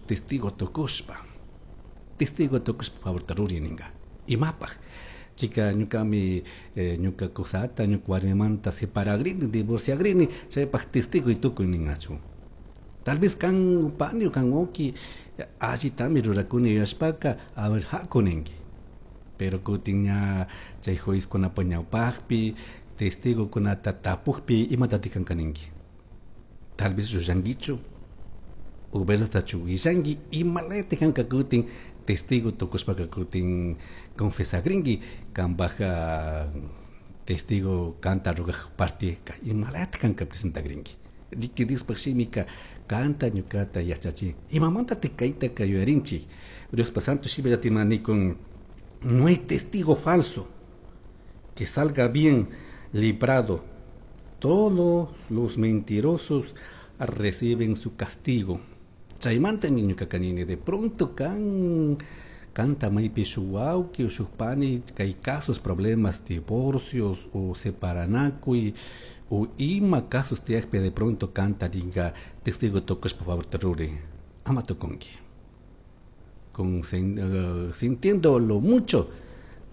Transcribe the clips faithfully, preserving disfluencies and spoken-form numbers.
Testigo tukushpa, testigo tukushpa favorta ruri ninga. Imapaj chika ñukami eh, ñuka kusata, ñuka warmimanta separagrini, divorciagrini, chaypaj testigo tukuy ningachu. Tal vez kan pani o kan wawki allitami rurakuni yuyashpaka, a ver, haku ninki. Pero kutin ña chay juezkunapa ñawpaqpi testigokunata tapukpi, imatatik kanka ninki? Tal vez llullankichu o verdadtachu willanki, imalayta kanka kutin testigo tukushpaka kutin confesagrinki kanpaj testigo kanta ruraj parte imalayta kanka presentagrinki. Riki, Diospaj shimika kanta ñukata yachachin. Imamantatik kaytaka yuyarinchik? Diospa santo shimillata ima nikun: no hay testigo falso que salga bien librado, todos los mentirosos reciben su castigo. Chaymanta ñuka nini, de pronto kan kanta maypi shuk wawki o shuk pani kay casos, problemas, divorcios o separanakuy o ima casos tiyakpi, de pronto kanta ringa testigo tukushpa favorta ruri, ama tukunki con uh, sintiéndolo mucho,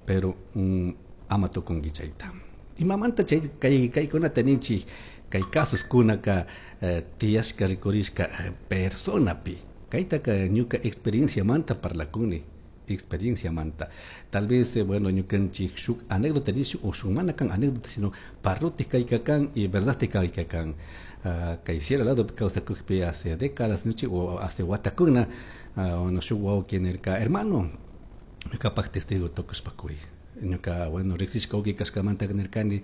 pero um, ama tukunki chayta. Imamanta chay kay kaykunata ninchik? Kay casos kunaka uh, tiyashka rikurishka personapi. Kaytaka ñuka experienciamanta parlakuni, experienciamanta. Tal vez, eh, bueno, ñukanchik shuk anécdota nishu o shuk mana kan anécdota, sino parruti kayka kan y verdad kayka kan. uh, kay sierra lado kawsakukpi hace décadas nuchi o hace watakuna, uh, bueno, shuk wawki nirka: "Hermano, ñukapaj testigo tukushpa kuy". Ñuka, bueno, riksishka wawki kashkamanta nirkani: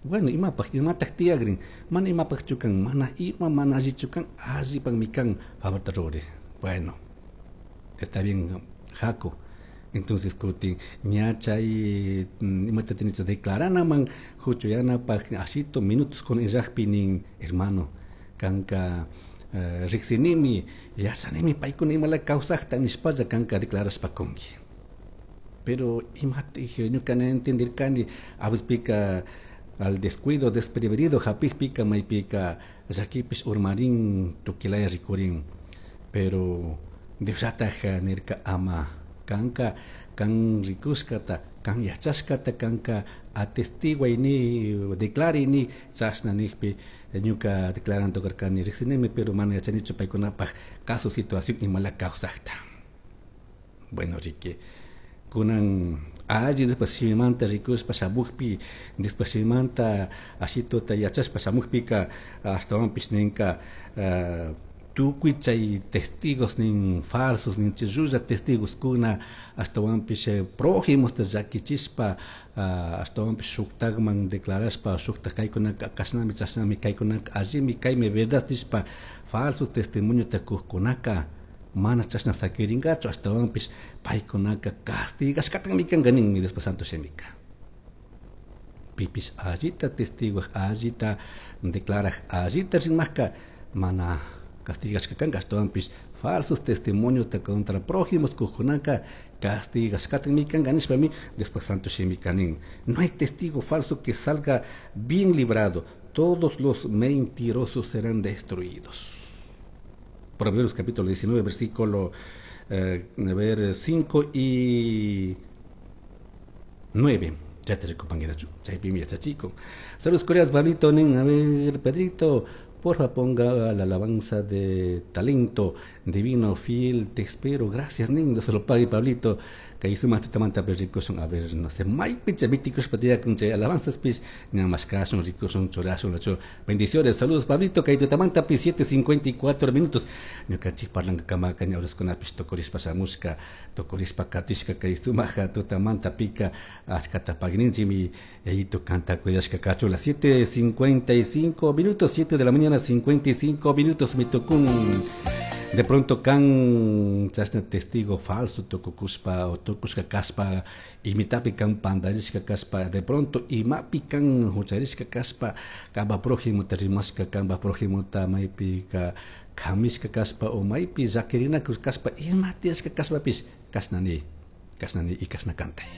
"Bueno, imapaj, imataj tiyagrin?" "Mana imapajchu kan, mana ima mana allichu kan, allipakmi kan, favorta ruri". "Bueno, está bien, haku". Entonces kutin ña chay imata tenicho declaranaman huchuyanapaj ashito minutos con illakpi nin: "Hermano, kanka uh, riksinimi, yachanimi paykuna imala kawsakta nishpalla kanka declarashpa kunki". Pero imati ñuka na entendirkani, a veces al descuido, desprevenido hapikpika maypika llakipish urmarin, tukilaya rikurin. Pero Diosllataj nirka: "Ama kanka kan rikushkata, kan yachashkata kanka atestiguay ni, declare ni". Chashna nikpi ñuka declarando karkani: "Riksinimi, pero mana yachanichu paykunapaj caso, situación imala kawsakta". Bueno, riki, kunan alli después shimimanta rikushpa shamukpi, después shimimanta ashituta yachashpa shamukpika, ashtawanpish ninka uh, tukuy chay testigos nin falsos nin, chay llulla testigos kuna ashtawanpish prójimosta llakichishpa, uh, ashtawanpish shuktakman declarashpa, shuktak kaykunaka kashnami, chashnami, kaykunaka allimi, kaymi verdad nishpa falsos testimoniota kukkunaka mana chashna sakirinkachu, ashtawanpish paykunaka castigashkatami kanka ninmi Diospa santo shimika. Pipish allita testiguaj, allita declaraj, allita rimakka mana castigashka kanka, ashtawanpish falsos testimoniota contra prójimos kukkunaka castigashkatami kanka nishpami Diospa santo shimika nin: "No hay testigo falso que salga bien librado, todos los mentirosos serán destruidos". Proverbios capítulo diecinueve, versículo eh, a ver, cinco y nueve. Ya te rikupanguirachu, chaypimi yachachikun. Saludos cordiales, Pablito, nin, a ver, Pedrito, porfa ponga la alabanza de talento divino, fiel, te espero, gracias, nin, Dios se lo pague, Pablito. Kay sumaq tutamanta rikushun, a ver, no sé, maypicha vitikushpa tiyakun chay alabanzas pish, ñamashkashun, rikushun, churashun, lachu. Bendiciones, saludos, Pablito, kay tutamanta pi siete cincuenta y cuatro minutos. Ñukanchik parlankakamaka ña horaskunapish tukurishpa shamushka, tukurishpa katishka kay sumaja tutamanta pika achkata pagninchimi yayito kanta cuidashka kachu. Las siete cincuenta y cinco minutos, siete de la mañana cincuenta y cinco minutos mitukun. De pronto kan chashna testigo falso tukukushpa o tukushka kashpa, imitapi kan pandarishka kashpa, de pronto imapi kan hucharishka kashpa, kanpa prójimota rimashka, kanpa prójimota maypika kamishka kashpa o maypi llakirinakush kashpa, ima tiyashka kashpapish, kashnani, kashnani y kashna kantay.